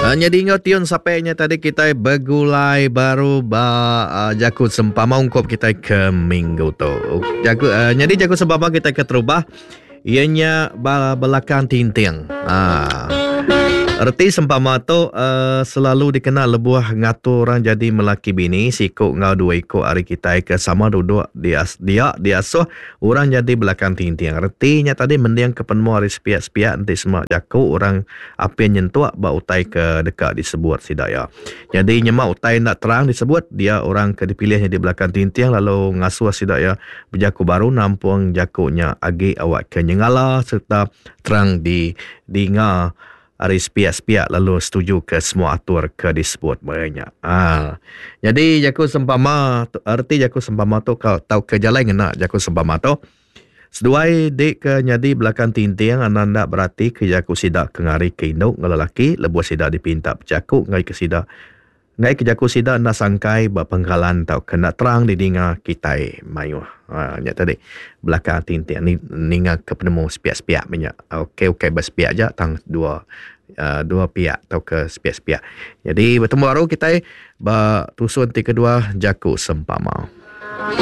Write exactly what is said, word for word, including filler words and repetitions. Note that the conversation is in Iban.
Uh, nyadi enggau tiun sape nya tadi kitai begulai baru ba uh, jaku sempama ungkup kitai ke minggu tu. Jaku uh, nyadi jaku sempama kitai ke terubah iya nya ba belakang tinting. Ah. Reti sempama tu uh, selalu dikena lebuh ngatur orang jadi melaki bini siku enggau dua iku ari kitai ke sama duduk dia dia diasuh orang jadi belakang tinting. Reti nya tadi mending ke penemu ari sepiak-sepiak enti sema jaku orang apin nyentuk ba utai ke deka disebut sida iya. Nyadi nyema utai enda terang disebut dia orang ke dipilih nyadi belakang tinting lalu ngasuh sida iya bejaku baru nampung jaku nya agi awak ke nyengala sereta terang di dinga ari sepiak-sepiak lalu setuju ke semua atur ke disebut maya nya. Ha. Nyadi jaku sempama erti jaku sempama tu ka tauka jalai ngena jaku sempama tu seduai dik ke nyadi belakang tinting anang enda berati ke jaku sida ke ngari ke indu enggau lelaki lebuh sida dipinta bejaku enggai ke sida enggai ke jaku sida enda sangkai ba pengkalan tauka enda terang didinga kitai mayuh. Ha, nya tadi belakang tinting ni ninga ke penemu sepiak-sepiak meh nya. Okey ukai ba sepiak aja tang dua uh, dua piak tauka sepiak-sepiak. Jadi betemu baru kitai ba tusun ti kedua jaku sempama.